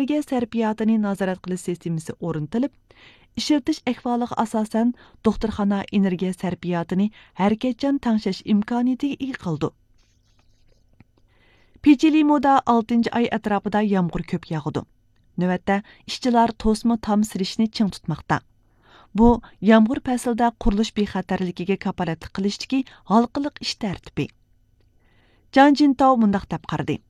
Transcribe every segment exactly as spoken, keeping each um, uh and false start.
ئېنېرگىيە سەرپىياتىنى نازارەت قىلىش سىستېمىسى ئورنىتىلىپ، ئىشلىتىش ئەھۋالىغا ئاساسەن، دوختۇرخانا ئېنېرگىيە سەرپىياتىنى ھەرىكەتچان تەڭشەش ئىمكانىيىتىگە ئىگە قىلىدۇ. پېچىلىمۇدا ئالتىنچى ئاي ئەتراپىدا يامغۇر كۆپ ياغىدۇ. نۆۋەتتە ئىشچىلار توسما تام سېلىشنى چىڭ تۇتماقتا. بۇ يامغۇر پەسلىدە قۇرۇلۇش بىخەتەرلىكىگە كاپالەتلىك قىلىشتىكى ھالقىلىق ئىش تەرتىپى. جان جىنتاۋ مۇنداق دەپ قارىدى: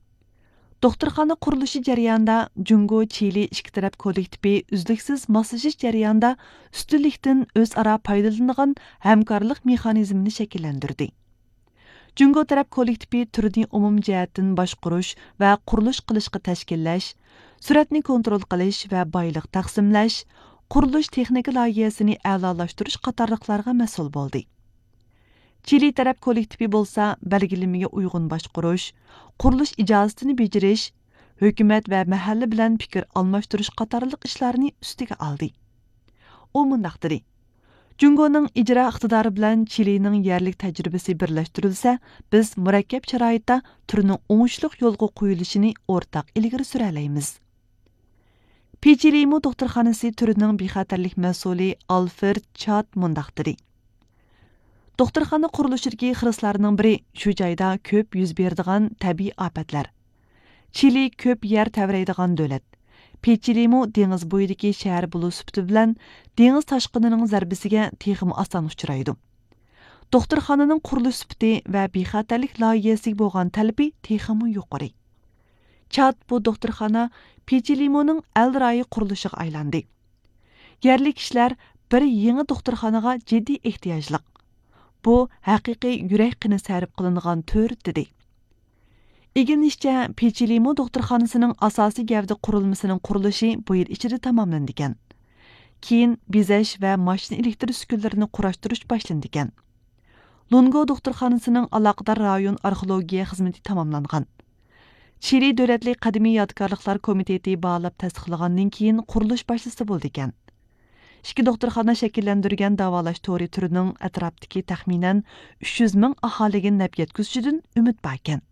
دوختۇرخانا قۇرۇلۇشى جەريانىدا جۇڭگو چىلى ئىككى تەرەپ كوللېكتىپى ئۈزلۈكسىز ماسلىشىش جەريانىدا ئۈستۈنلۈكتىن ئۆزئارا پايدىلىنىدىغان ھەمكارلىق مېخانىزمىنى شەكىللەندۈردى. جۇڭگو تەرەپ كوللېكتىپى تۈرنى ئومۇمىي جەھەتتىن باشقۇرۇش ۋە قۇرۇلۇش قىلىشقا تەشكىللەش، سۈرئەتنى كونترول قىلىش ۋە بايلىق تەقسىملەش، قۇرۇلۇش تېخنىكا لايىھەسىنى ئەلالاشتۇرۇش قاتارلىقلارغا مەسئۇل بولدى. چىلى تەرەپ كوللېكتىپى بولسا بەلگىلىمىگە ئۇيغۇن باشقۇرۇش، قۇرۇلۇش ئىجازىتىنى بېجىرىش، ھۆكۈمەت ۋە مەھەللە بىلەن پىكىر ئالماشتۇرۇش قاتارلىق ئىشلارنى ئۈستىگە ئالدى. ئۇ مۇنداق دېدى: جۇڭگونىڭ ئىجرا ئىقتىدارى بىلەن چىلىنىڭ يەرلىك تەجرىبىسى بىرلەشتۈرۈلسە، بىز مۇرەككەپ شارائىتتا تۈرنىڭ ئوڭۇشلۇق يولغا قويۇلۇشىنى ئورتاق ئىلگىرى سۈرەلەيمىز. پېچىلىمۇ دوختۇرخانىسى تۈرىنىڭ بىخەتەرلىك مەسئۇلى ئالفرېد چات مۇنداق دېدى: دوختۇرخانا قۇرۇلۇشىدىكى خىرىسلارنىڭ بىرى شۇ جايدا كۆپ يۈز بېرىدىغان تەبىئىي ئاپەتلەر. چىلى كۆپ يەر تەۋرەيدىغان دۆلەت. پېچىلىمۇ دېڭىز بويىدىكى شەھەر بولۇش سۈپىتى بىلەن دېڭىز تاشقىنىنىڭ زەربىسىگە تېخىمۇ ئاسان ئۇچرايدۇ. دوختۇرخانىنىڭ قۇرۇلۇش سۈپىتى ۋە بىخەتەرلىك لايىھەسىگە بولغان تەلىپى تېخىمۇ يۇقىرى. چات بۇ دوختۇرخانا پېچىلىمۇنىڭ ئەل رايى قۇرۇلۇشىغا ئايلاندى. يەرلىك كىشىلەر بىر يېڭى دوختۇرخانىغا جىددىي ئېھتىياجلىق. بۇ ھەقىقىي يۈرەك قېنى سەرپ قىلىنغان تۈر، دېدى. ئىگىلىنىشىچە، پېچىلىمۇ دوختۇرخانىسىنىڭ ئاساسىي گەۋدە قۇرۇلمىسىنىڭ قۇرۇلۇشى بۇ يىل ئىچىدە تاماملىنىدىكەن. كېيىن بېزەش ۋە ماشىنا ئېلېكتر ئۈسكۈنىلىرىنى قۇراشتۇرۇش باشلىنىدىكەن. لۇنگو دوختۇرخانىسىنىڭ ئالاقىدار رايون ئارخېئولوگىيە خىزمىتى تاماملانغان. چىلى دۆلەتلىك قەدىمىي يادىكارلىقلار كومىتېتى باھالاپ تەستىقلىغاندىن كېيىن قۇرۇلۇش باشلىسا بولىدىكەن. ئىككى دوختۇرخانا شەكىللەندۈرگەن داۋالاش تورى تۈرىنىڭ ئەتراپتىكى تەخمىنەن ئۈچ يۈز مىڭ ئاھالىگە نەپ يەتكۈزۈشىدىن ئۈمىد باركەن.